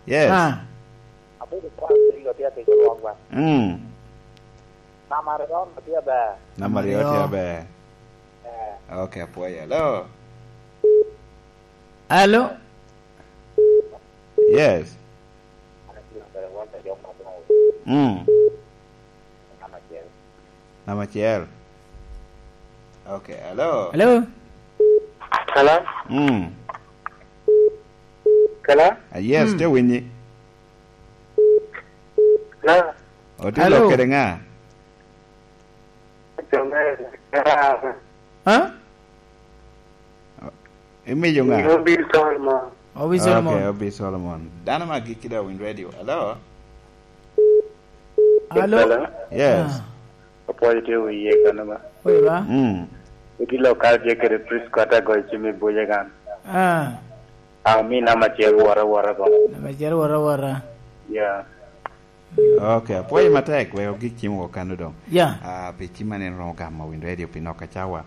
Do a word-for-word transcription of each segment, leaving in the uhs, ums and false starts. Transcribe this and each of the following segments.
Yes. Ah. Abedo kwan, ringo tye atic olwokwa. Mm. Namba aryo tye aber. Namba aryo tye aber. Eh. Okay, apwoyo. Hello? Hello? Yes. Mm. Namba acel. Namba acel. Okay, hello? Hello? Hello? Mm. Hello? Ah, yes, mm, te winyi. Hello? Otye lok kede ŋa? Huh? Imiyo ŋa? Obi Solomon. Obi Solomon. Okay, Obi Solomon. Dano me agikki daŋ owinyo radio. Hello? Hello? Hello? Yes. Ah. Apwoyo tye wiye kano ba. Oye ba? Mm. Iti lokal tye kede Prisco ata goyo cim i buce kan. Ah. Ah, mi namba acel wora wora ko. Namba acel wora wora. Yeah. Okay, apwoyo matek, wek ogik cim woko kano doŋ. Yeah. Ah, pi cim man en romo gamo Wind Radio pi nok acawa.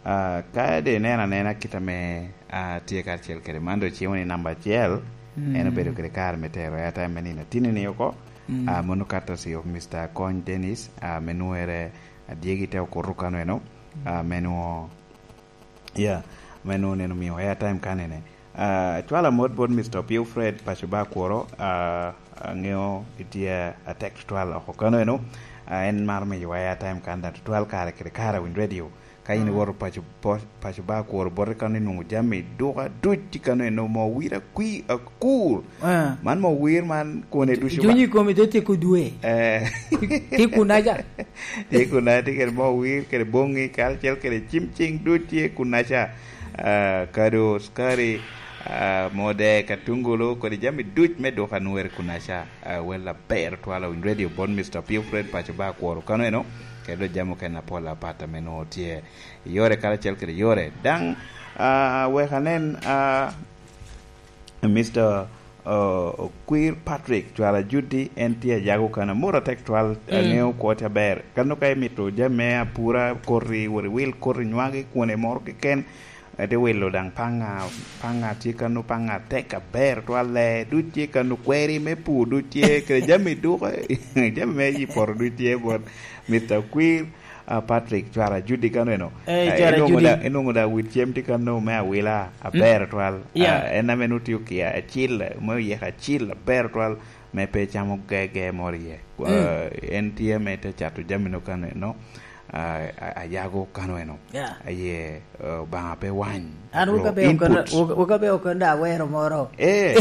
Ah, ka de ineno anena kit ame, ah, tye karacel kede man, dok cimo ni namba acel, mm, en obedo kede kare me tero airtime me nino atini-ni oko. Mm. Ah, mono kato si of Mister Kony Dennis, ah, me nwere adyegi te okuto kano eno, ah, me nwo-, yeah, me nwo neno miyo airtime kanene. Ah, cwalo amot bot Mister Opio Fred, paco ba Akworo, ah, aŋeo itye atek tutwal oko kano eno. Ah, en maro miyo airtime kan daŋ tutwal kare kede kare Wind Radio. Ka in iwoto paco, po-, paco ba Akworo bote kano inwoŋo jami duka duc tye kano eno, mo wir akwi akur. Ah. Man mo wir man kone ducu ba. Junyi komi te tyeko dwe. Eh. Tye kunaca. Tye kunaca, tye kede mo wir, kede boŋŋi, karacel kede cim ciŋ duc tye kunaca. Ah, kado, sukari, ah, mode, katungulu, kodi jami duc me duka nwere kunaca. Ah, wel aber twala Wind Radio bot Mister Pio Fred paco ba Akworo kano eno, kede dok jami okene apol apat ame nwoŋo tye i yore karacel kede yore. Daŋ, ah, wek anen, ah, Mister, ah, Okwir Patrick, cwara Judy, en tye a Yago kano. Amoro atek twal, mm, aŋeo kwo tye aber. Kano ka imito jami me apura, koti, wot iwil koti nywagi, kwone moro keken, ete wilo daŋ paŋa, paŋa tye kano, paŋa tek aber twal, lee duc tye kano, kweri me pur duc tye, kede jami duko, jami me yi poto duc tye bot Mister Okwir. Ah, Patrick, cwara Judy kano eno. Eh, eh, cwara inwoŋo Judy. Da, inwoŋo da wit cem tye kano me awila, mm, aber twal. Yeah. Ah, en ame nwoŋo tye okia acil, me oyeka acil, aber twal, me pe camo gege moro iye. Mm. Ah, en tye me te cato jami no kano eno. Ah, a-, ayago kano eno. Yeah. Aye, ah, Obaŋa pe wany. An wok abe okon-, input. Wok, wok abe okon da awero moro. Eh.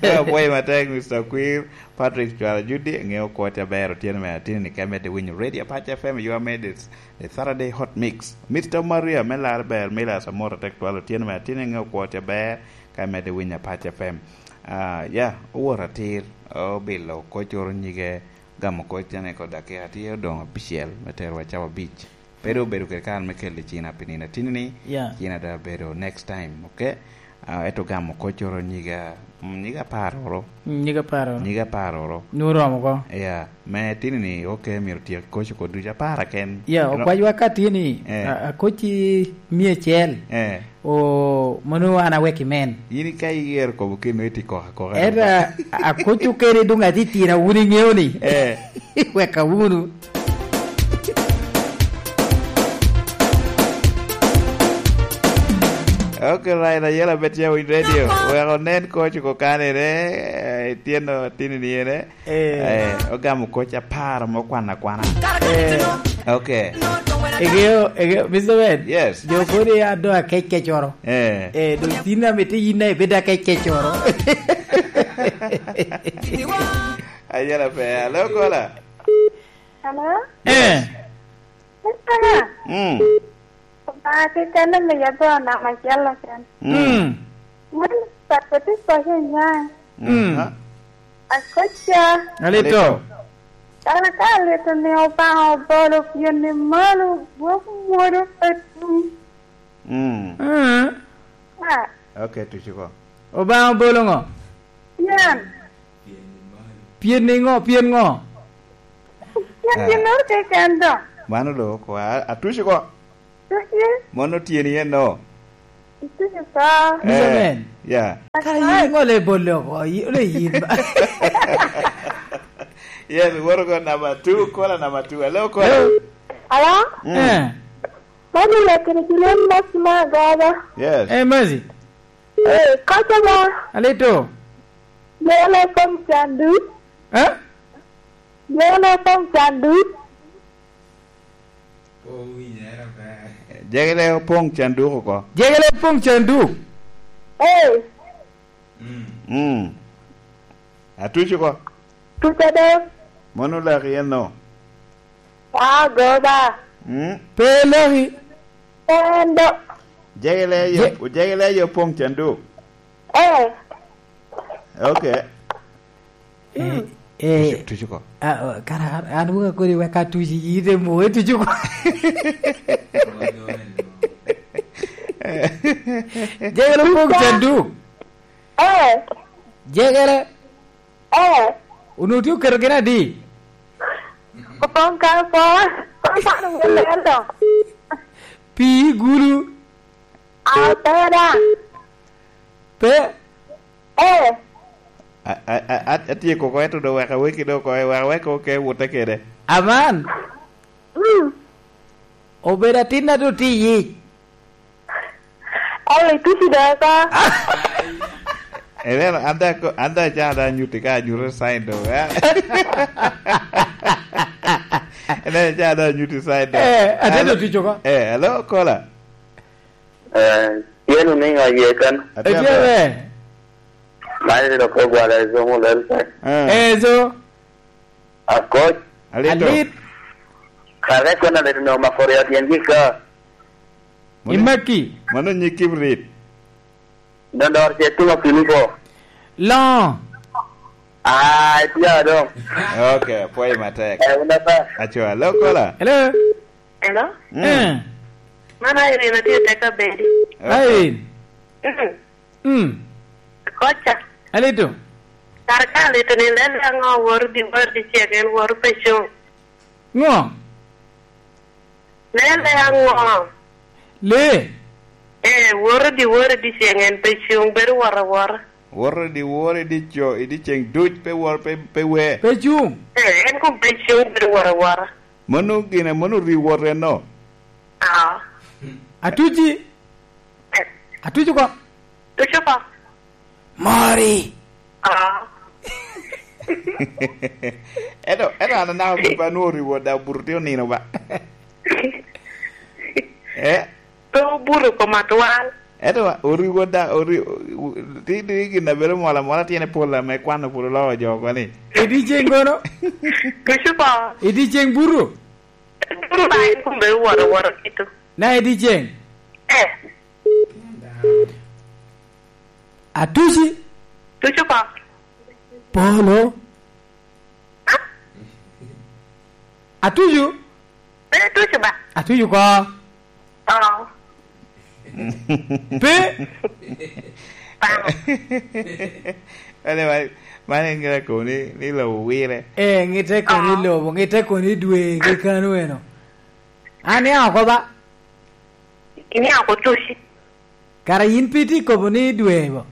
Apwoyo matek, Mister Okwir. Patrick Cwara Judy, ŋeo kwo tye aber otyeno me atini ni ka imedde winyo Radio Apac F M, you are made the, the Saturday Hot Mix. Mister Maria, me lar ber, Milas Amor atek twal otyeno me atini, ŋeo kwo tye aber ka imedde winyo Apac F M. Ah, ya, owor atir, obilo kocoro nyige, gamo koc tene kod dakika tye odoŋ abicel me tero wa cawa abic. Pe doŋ obedo kede kare me kelo i cina pi nino atini-ni, yeah, cina doŋ abedo next time, okay? Ah, ento gamo kocoro nyiga, mm, nyiga apar oro. Mm, nyiga apar oro. Nyiga apar oro. Nwoŋo oromo oko. Yeah, me atini-ni, okay, myero otyek koc oko ducu apar aken. Yeah, okwacwa ka tye ni, eh, a-, akoc i mia acel. Eh. O, mano an awek i men. In ka iyero kobo keno iti koko akoka. Ento a-, akoc okene doŋ atitira wun iŋeo ni. Eh. Weka wunu. Ok, right, ayela bet ya Wind Radio. Wek onen koc oko kanere, eh, ityeno atini ni ene. Eh. Eh, ogamo koc apar me kwano akwana. Eh. Ok. Egeo, egeo, Mister Ben. Yes. Jo kodi ya do akec kecoro. Eh. Eh, do tin na mete yin na ibed akec kecoro. Ayela pe, alo kola. Hello? Eh. Mister Ben. Mm. Ba, kekene miya bo namba acel keken. Mm. Mm. Mano pat koti koco nyaŋ. Mm. Aha. Akoca. Alito. Alito. Kara ka alito ni Obaŋa obolo pien ni malo gwok mwodo pe tum. Mm. Mm. Ah. Ok, tuci ko. Obaŋa obolo ŋo? Pien. Pien ni ŋo? Pien ŋo? Pien, ah, ginnoro keken doŋ. Mano doŋ oko, a-, atuci ko. Tuci. Mono tyeni en no? Ituci ko. Mister Ben. Eh. Yeah. Kara yin ŋo le bolo oko, yi-, ole yin ba. Yes, woro ko number two, caller number two. Hello, caller. Hello? Mm. Eh. Mano lekere Julian Maxima Gaga. Yes. Eh, Mercy. Eh, koca ba. Alito. Jere pong candu. Eh? Jere pong candu. Jegere opoŋ canduk oko. Jegere opoŋ canduk. Eh. Mm. Atuco oko. Tuco do. Mono laki en no. Ah, goba. Mm. Pe laki. Endo. Jegere yo, Je- jegere yo opoŋ canduk. Eh. Okay. Eh, eh, tuco, tuco ko. Ah, oh, kara an, an wun akodi wek atuci, ite mo, eh, tuco ko. Jegere pok candu. Eh. Jegere. Eh. Unu tye oketo gin adi? Opong ka po. Opong ka po. Pi gulu. Ah, pe da. Pe. Eh. A, a, a, a, atyeko oko, ento do wek aweki do oko, wek awek oke wute kede. Aman. Mm. Obedo atin a do tye i yic. Oli, tuci do oko. Ineno, an da ko, an da ca da nyuti ka anyuto sign do, eh? Ineno ca da nyuti sign do. Eh, atendo tuco ko. Eh, hello, caller. Eh, tye luniŋo aye kan? Atye Etye aber. Ber. Man ilo ko gwala Ezo Mulel pe. Eh. Ezo. Akoc. Alit. Alit. Kare kono alit no mako ryo tyen gi ka. Mano, imaki. Mano nyig kibrit. Dondor ce tumo kini ko. Lo. Ah, itya dong. Okay, pwoyo matek. Eh, wunda pa. Aco, hello, caller. Hello. Hello? Mm. Eh. Man Irene, atye i Teka Bedi. Okay. Irene. Mm. Mm. Koca. Alito. Kara ka alito ni, lelle aŋo woro di woro di cek en woro pe cuŋ? Ŋo? Lelle aŋo? Lee. Eh, woro di woro di cek en pe cuŋ, bedo woro awora. Woro di woro di co, i di ceŋ duc pe woro, pe, pe we. Pe cuŋ. Eh, en kom pe cuŋ, bedo woro awora. Mano gin, mano riwot enno. Aa. Atuci. Eh. Atuci ko. Tuci ko. Mori. Aa. Ento, ento an anaka pe anwoŋo riwot da, obuto tye onino ba. Eh? Pe obuto kom atwal. Ento oriwo da, ori-, u-, ti, ti gin a bedo mol amola tyene pol ame kwano pwod oloo jo oko ni. I dyeceŋ kono? Tuco ko. I dyeceŋ buto? Buto ba en kun bedo woro, woro kito. Na i dyeceŋ? Eh. Atuci? Tuco ko. Polo? Ah? Atucu? Pe tucu ba? Atucu ko. Oo. Pe? Pamo. Ane man, man en ŋitte kono ni, ni lobo wire. Eh, ŋitte kono ni lobo, ŋitte kono ni dwe, ki kano eno. An nia oko ba? Inia oko tuci. Kara yin pe itye kobo ni dwe bo?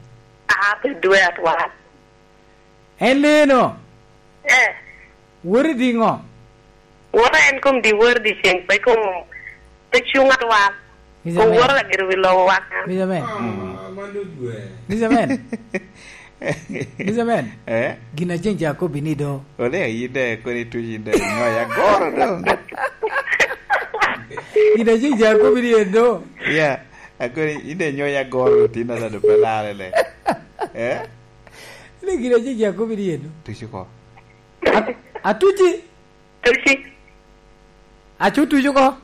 Aa, pe dwe atwal. En leno? Eh. Wori di ŋo? Woro en kom di woro di ceng, pe kom, pe cuŋ atwal. Mister Kom Man. Woro lagiro wi lobo waka. Mister Man. Ah, man duk dwe. Mister Man. Mister Man. Eh? Gin a ceng ca kobbi ni do. Ole, yin de, koni tuci yin de, nyoya goro do. Gin a ceng ca kobbi ni en do. Yeah, akoni, yin de nyoya goro, tin na do pe lare le. Eh? Ni gin a ceng ca kobbi ni en do. Tuci ko. A-, atuci. Tuci. Acu tucu ko.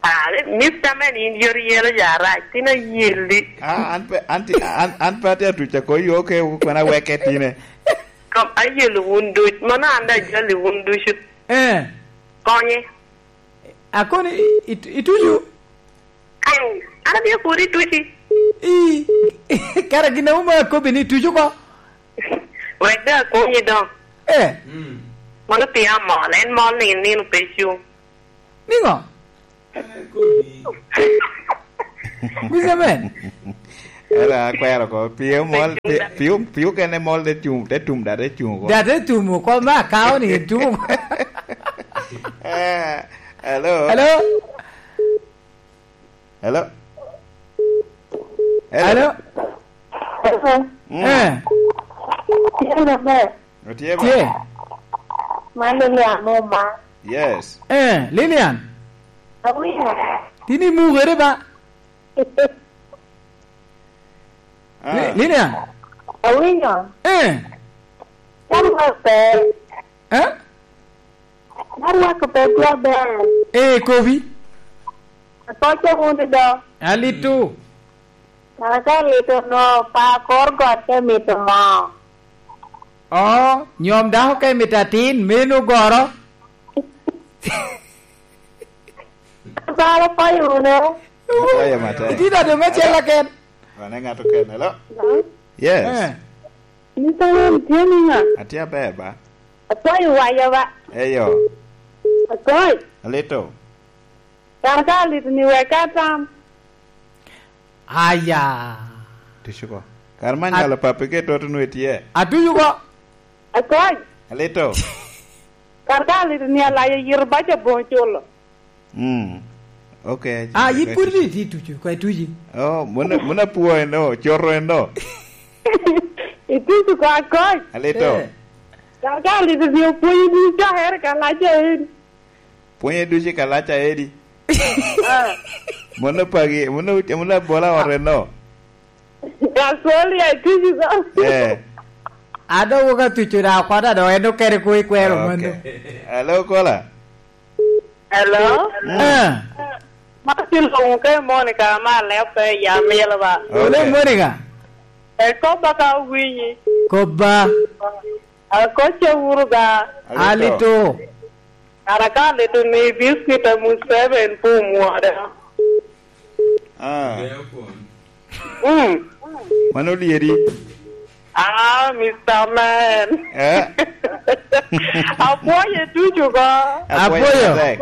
Ah, Mister Man, in yot yelo ja arac, tin ayelli. Ah, an pe, an ti, an, an pe atye atuca ko yo ke, kwena weke tine. Kom ayelo wun duc, mano an da jali wun ducu. Eh. Konye. Akoni, it-, itucu? Ai, an abino kodi tuci. I, kara gin a wuma akobbi ni tucu ko? Wek da akonyi dong. Eh. Mm. Mano pia mol, en mol ni nino pe cuŋ. Niŋo? Mister Man. Era akwero ko, pio mol, pi-, pio, pio kene mol te tum, te tum da te tum ko. Da te tum ko, ma kao ni tum. Eh, hello? Hello? Hello? Hello? Hello? Mm. Eh. Tye maber. Otye ba? Tye. Man Lilian Muma. Yes. Eh, Lilian. Awinyo. Tin imukere ba? Ah. Li-, Lilian. Awinyo. Eh. Tam maber. Eh? Arwako pet jaber. Ee, kobi. Akoco wunu do. Alito. Kara ka alito no, pa kor got te mito moo. Oo, nyom dako ka emito atin, meno goro. Bala payo wunu. Payo matek. Itino doŋ acel aken. Wane ŋat oken, hello? Hello? Yes. Eh. Mister Ram, tye niŋa? Atye aber ba. Akwayo waya ba. Eyo. Akoc. Alito. Kara ka alito ni wek atam. Aya. Tuco ko. Kara man nyalo papi ke toto nwe tye. Atuco ko. Akoc. Alito. Kara ka alito ni alayo yito baca boŋ culo. Mm. Ok. Ah, yin pwod ni iti tucu, kwa ituci. Oh, muna, muna puo eno, choro eno. Itucu kwa kony. Alito. Eh. Kaka alito ni opwonyi ducu ka here ka laca edi. Pwonye ducu ka laca edi. Ah. Muna pagi, muna, muna bola ore no. Gasoli, itucu kwa. Eh. Ado woka tucu da kwata do eno kere ko ikwero. Ok. Mano. Hello, kola. Hello? Mm. Eh. Ma tin luŋ ke Monica ma lepe ya milo ba. Ole, okay. Monica. E kobba ka winyi. Kobba. Akoca wuru ga. Alito. Alito. Kara ka alito ni biscuit a Museveni pu mwada. Ah. Mm. Mano lyeri. Ah, Mister Man. Eh? Apwoye ducu ko. Apwoyo. Apwoyo matek.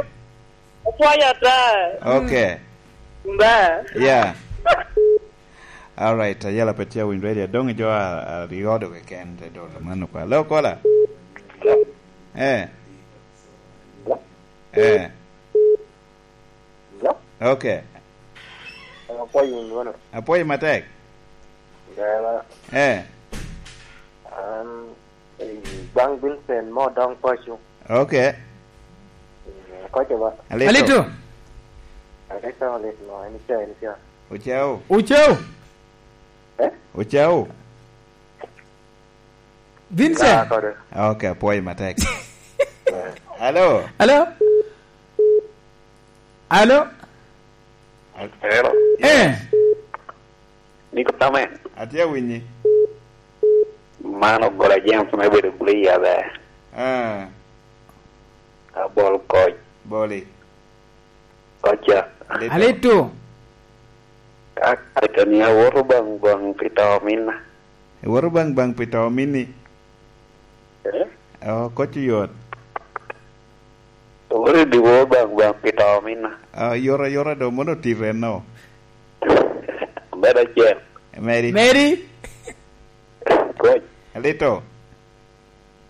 Apwoyo ata. Okay. Ba. Yeah. All right, ayela pe tye winyo radio. Dong jo a, a, aryo do keken te dolo mano kwa. Lo kola. Eh. Eh. Hello? Okay. Apwoyo wunu. Apwoyo matek. Gala. Eh. An, eh, Bang Vincent mo dong paco. Okay. Mm, koco ba. Alito. Alito. Alito, alito, no, en ica, en ica. Ocao. Ocao. Eh? Ocao. Vincent. Ah, kore. Okay, apwoyo matek. Hello. Hello. Hello. Hello. Eh. Yes. Niko tame. Atye awinyi. Man ogola James me bedo Goliath, eh. Ah. Abol koc. Boli. Koca. Alito. Alito. Ka, ka ni awoto baŋ, baŋ pi to minna. Iwoto baŋ, baŋ pi to minni? Eh? Oh, koc oyot. Owot i dyewor baŋ, baŋ pi to minna. Ah, yot ayota do, mono tito enno. Medo acel. Meri. Meri. Koc. Alito.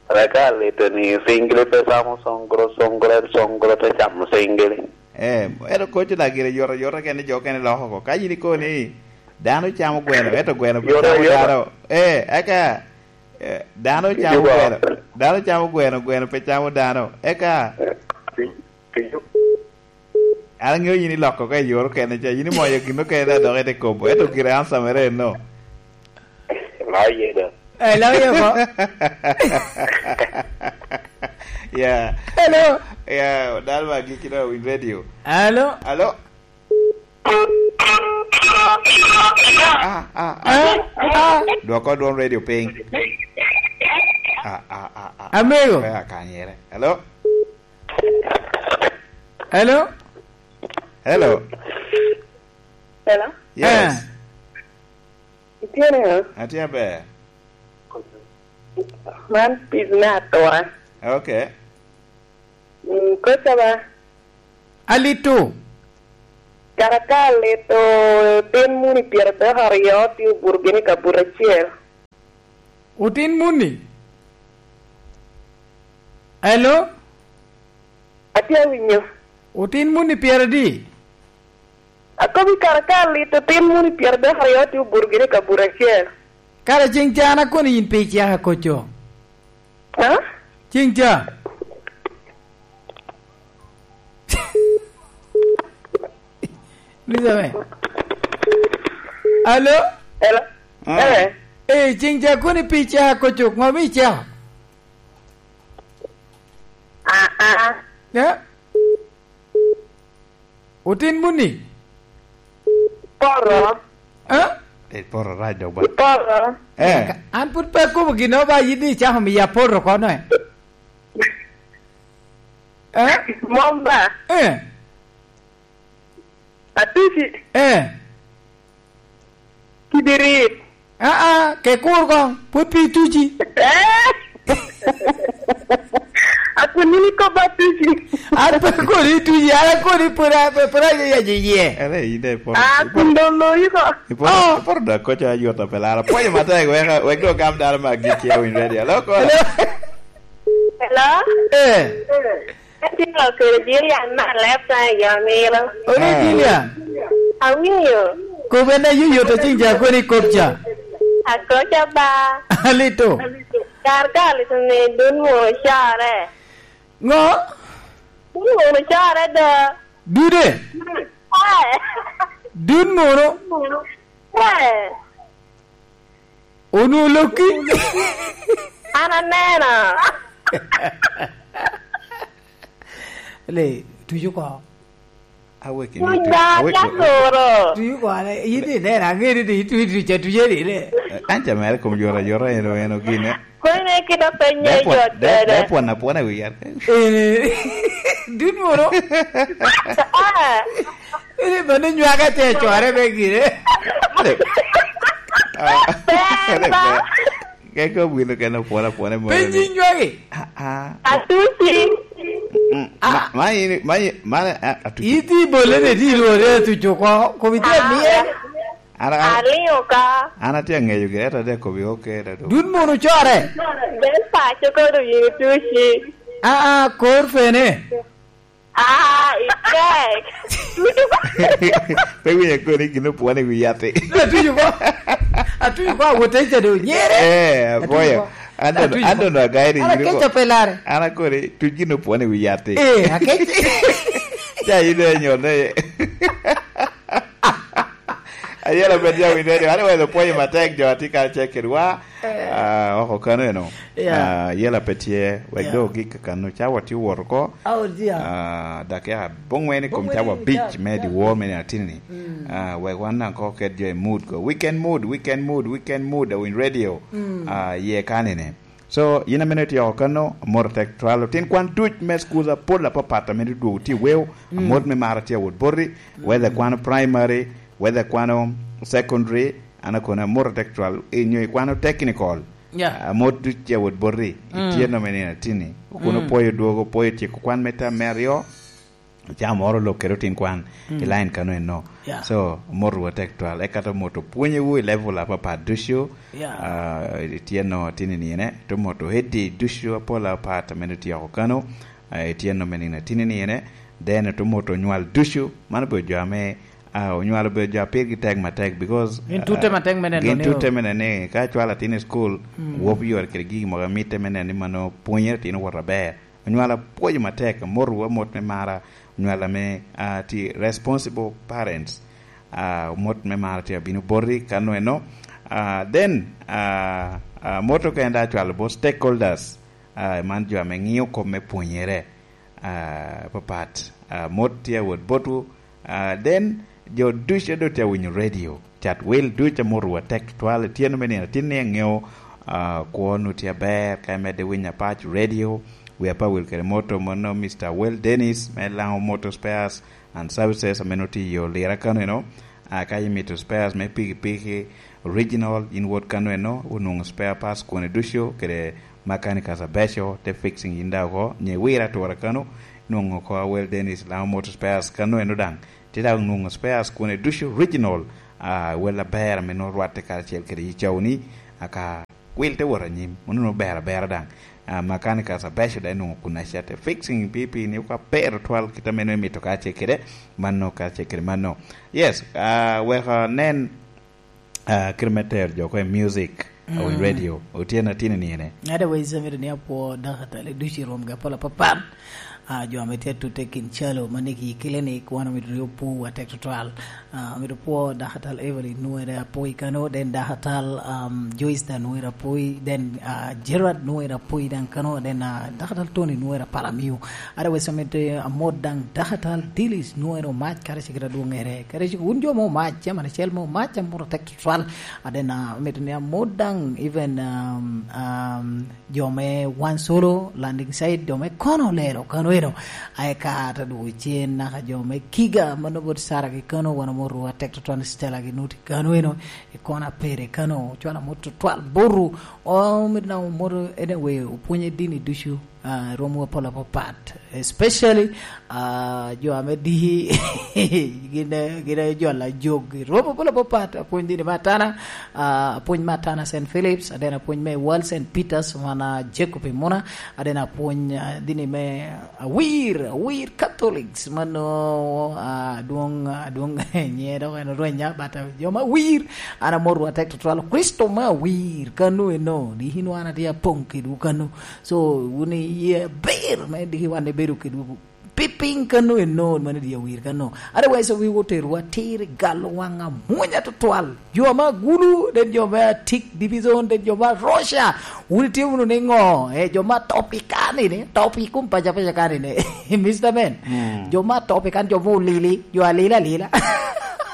Reka alito ni singili pe camo songro, songro, songro te camo singili. Eh, ento koc na gire yot ayota kene jo kene loko ko. Ka yin ikobo ni dano camo gweno, ento gweno pe camo dano. Eh, eka Eh, dano camo gweno, dano camo gweno, gweno pe camo dano. Eka, an aŋeo yin iloko ka i yor okene ca, yin imoyo gin okene dok ite kobo, ento gire ansa mere enno. Loye do. Eh, loye ko. Yeah. Hello. Yeah, dal ma giki na win radio. Hello. Hello. Ah, ah, ah. Eh? Ah. Dwoko dwon radio piny. Ah, ah, ah, ah. Amigo. Pe akanyere. Hello? Hello? Hello? Hello? Yes. Eh. Itye niŋo? Atye aber. Man pis me atura. Okay. Mm, koca ba. Alito. Kara ka alito tin muni pyeradek aryo tye obuto gini i kabuto acel. Otin muni? Hello? Atye awinyo. Otin muni pyeradi? Akobi kara ka alito tin muni pyeradek aryo tye obuto gini i kabuto acel. Kara ceng ca an akono yin pe icaka koco. Ha? Ceng ca. Elizabeth. Alo? Hello? Ah. Eh. Eh, ceng ca koni pi ca kocok, ngo mi ca? Ah, ah. Ya? Otin muni? Poro. Ha? Eh, poro rac dok ba. Poro. Eh. An pud pe akobo gin ba yidi icako miya poro kono, eh. Eh? Mom ba? Eh. Atuci. Eh. Kibirit. Ah, ah, ke kur kong, pwod pi tuci. Eh? Akun nini kop atuci. An pe kodi tuci, an akodi pwod a-, pwod a-, ya, ya, ye. Ere, ide poro. Ah, kun dong loyi ko. Iporo, oh, iporo da koca ayota pe lara. Pwonyo matek, wek, wek do gam dano ma gik ya win radio. Hello, ko. Hello? Hello? Eh. Atye ka kelo Jilian me alep ka i jo milo. Ore, ah, Jilian. Awinyo. Kop en aye yot acing ca koni kop ca. Akoca ba. Alito. Kar ka alito ni dun mo core. Ngo? Dun mo core do. Dude? Eh. Dun mono? Eh. Onwoŋo lokki? An aneno. Le, tuco oko. Awek i Tuc nut-, ba, awek i nut-, ka toro. Tuco oko, ale, in ineno, aŋeo ni ituc, ituc, ituc, ituc, ituc, ituc, ituc. Eh, an ca mere kom yot ayota, en, en ogine. Koni ne kit apenyo i jot de, kede. De pwon apwona i wi yat. Eh, dun moro. Ah. Ere mano nywaka te cware me gire. Ade. Ah, ade, ba. Keko wino kene opwona, opwona moro. Pe ni nywagi. Ah, ah. Atuci. Mm, ah. Ma, ma ini, ma i-, ma, ah, atuci. Iti bole ne di rwode atuco ko, ko bi te miye. An, an, aliŋo ka. An atye aŋeyo gire, ata de kobi oke, ata do. Dun mono core. Del paco kodo yini tuci. Ah, ah, kor pene. Ah, ikek. Pe winyo koni gin opwone wi yati. Atuco ko. Atuco ko awote ca do nyere. Eh, apoyo. Atuco ko. An dono, atuco ko. An dono agayi ni. An yini ko. Akeco pe lare. An akoni tuc gin opwone wi yati. Eh, akeco. Ca yini do nyone. Ayela pe tye awinyo ni, wan owelo pwonyo matek jo atye kacel kedwa. Eh. Ah, oko kano eno. Yeah. Ah, yela pe tye, wek, yeah, do gik kano ca watye wot oko. Oh, dear. Ah, dakika abongwen i kom ca wabic me dyewor me nino atini-ni. Mm. Ah, wek wan daŋ ko ket jo i mood ko. Weekend mood, weekend mood, weekend mood, awiny radio. Mm. Ah, ye kanene. So, yin ame itye oko kano, amot atek twal. Otin kwan duc me schools apol apapat ame dwogo tye i weo, mm, amot me mar atye awot boti, mm, whether kwano primary, whether kwano secondary, an akono amot atek twal, i nyo ikwano technical, yeah, amot duc tye awot boti, mm, itye nome nino atini. Kun, mm, opwoyo dwogo, opwoyo tyeko kwan me tam me aryo, Ca moro olok kede otin kwan, mm, i line kano eno. Yeah. So, mot wu atek twal. Eka to mot opwonyewu i level apapat ducu. Yeah. Ah, itye no tini ni ene. To mot o head ducu apol apat ame itye oko kano. Ah, itye no me nino tini ni ene. Then to mot onywal ducu. Mano obedo jo ame, ah, onywal obedo jo a pirgi tek matek because, gin tutte, ah, matek me neno gin ni tutte me neno ni ka cwalo atin i school, mm, wop yore kede gigi mogo a mitte me neno ni mano pwonyere atin owoto aber. Onywal apwoyo matek, amotowu amot me mara, onywal ame, ah, tye responsible parents. Ah, mot me mara tye abino boti kano eno. Ah, then, ah, ah, mot okene da acwalo bot stakeholders, ah, man jo ame ŋiyo kop me pwonyere, ah, papat. Ah, mot tye awot botwu. Ah, then, jo ducu a doŋ tye awinyo radio, cat wil ducu amotowu atek tutwal, itye no me nino atin ni aŋeo, ah, kwo nu tye aber, ka imedde winyo apac radio, wi apawil kede moto mono Mister Well Dennis me Lango Motor Spares and Services ame nongo tye i yo Lira kano eno. Ah, ka imito spares me pikipiki original, in wot kano eno, onwoŋo spare parts kwone ducu, kede mechanicals abeco, te fixing in daŋ oko, nye wira atura kano, nwoŋo oko a Well Dennis Lango Motor Spares kano eno daŋ. Tye daŋ onwoŋo spares kune ducu original, ah, wel aber ame nwoŋo rwatte karacel kede yi cawni, aka wil te wot anyim, mono nwoŋo ber abera daŋ. Ah, mechanical special daŋ onwoŋo kun acate fixing pipi ni kwa ber twal kit ame nwoŋo imito karacel kede mano, karacel kede mano. Yes, ah, wek anen, ah, kit me tero jo oko i music, awiny radio, otyen atini ni ene. Otherwise, amito ni apwo dakatali ducu i rwomgi apol apapat. Ah, jo ame tye atute kin calo ma nigi clinic, wan omito ni opwowa tek tutwal. Ah, amito pwo dakatal Evelyn Nuere Apoi kano, then dakatal, um, Joyce da Nuere Apoi, then, ah, Gerard Nuere Apoi daŋ kano, then, ah, dakatal Tony Nuere Palamio. Otherwise, amito amot daŋ dakatal Dilis Nuere Omac, kare cikita dwoŋere. Kare cik-, wun jo mo Omac, chairman acel mo Omac, amot tek tutwal. Ah, then, ah, amito ni amot daŋ, even, um, um, jo me Wan Solo, Landing Site, jo me kono lelo kano eno. Aye ka ata dwogo cen naka jo me Kiga, mano bot Sara gi kano, wan omoto atek tutwal ni Stella gi Nuti kano eno, i kono apere kano, cwalo amot tutwal boru. O, mito na omoto, anyway, opwonye dini ducu, ah, romo apol apapat. Especially, ah, jo ame diki, gin, gin aye jo a Lajog. Romo apol apapat, apwony dini me Atana, ah, apwony me Atana Saint Philip's, aden apwony me World Saint Peter's, wan, ah, Jacob i Muna, aden apwony, ah, dini me Awir, Awir Catholics, mano, ah, adwoŋ, adwoŋ, nyiŋe dok en orwenya, but, ah, jo me Awir, an amotwu atek tutwal, Kricito me Awir, kano eno, diki nwoŋo an atye apoŋ kedwu kano. So, wun iye aber me diki wan ibedo kedwu pi piny kano eno, mano diki Awir kano. Otherwise, wi oterwa atir i galo waŋ amwonya tutwal. Jo ame agulu, then jo me Atik Division, then jo me Russia. Wun itye wunu ni ŋo? Eh, jo me Topican ni, Topic kun paca paca kan ni. Mister Man, mm, jo me Topican, jo me Olili, jo alila alila.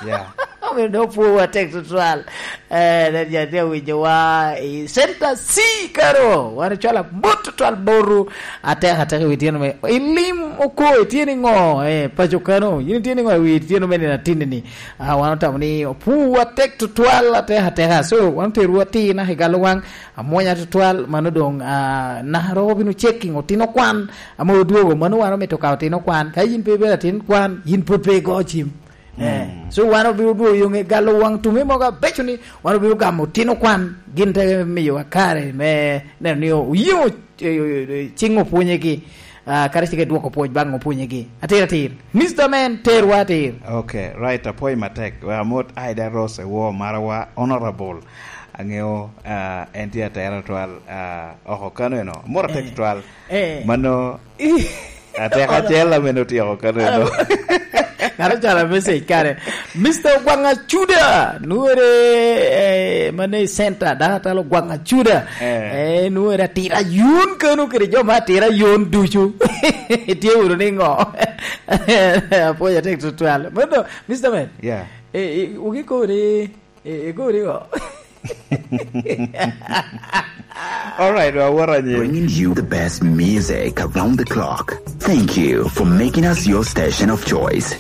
Yeah. Omiyo dok pwowa tek tutwal. Eh, then jo tye awinyowa i Center C kano. Wan ocwalo amot tutwal boru. Atek atek i wi tyeno me. Ilim oko itye ni ŋo? Eh, paco kano. Yin itye ni ŋo i wi tyeno me nino atinni ni? Ah, wan otamo ni opwowa tek tutwal atek ateka. So, wan oterwa atir naka i galo waŋ, amwonya tutwal, mano doŋ, ah, naka ro obino checking otino kwan, ame odwogo, mano wan omito ka otino kwan. Ka yin pe ibedo atin kwan, yin pwod pe igo cim. Eh, mm, so wan obino dwogo yoŋe galo waŋ tume mogo abeco ni wan obino gamo otino kwan, gin te miyowa kare me neno ni oyeŋo, eh, eh, eh, ciŋ opwonyegi. Ah, kadi cik edwoko pwoc baŋ opwonyegi. Atir atir. Mister Man, terwa atir. Okay, right, apwoyo matek. Wek amot Ida Rose Ewo, marawa, Honorable. Aŋeo, ah, en tye atera twal, ah, oko kano eno. Amot atek, eh, twal. Eh. Mano, ateka acel ameno otyeko kano eno. Ng'ato ocwalo message kare. Mister Ogwaŋ Acuda, nwere, eh, mane i center, dako atalo Ogwaŋ Acuda. Eh. Eh, nwere atira yun kano kede jo ma atira yun ducu. Itye wunu ni ŋo? Apwoyo atek tutwal. Mano, Mister Man. Yeah. Eh, eh, wugi kodi, eh, eh, kodi ŋo? All right, well, what are you? Bringing you the best music around the clock. Thank you for making us your station of choice.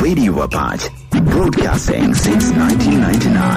Radio Apache, broadcasting since nineteen ninety-nine.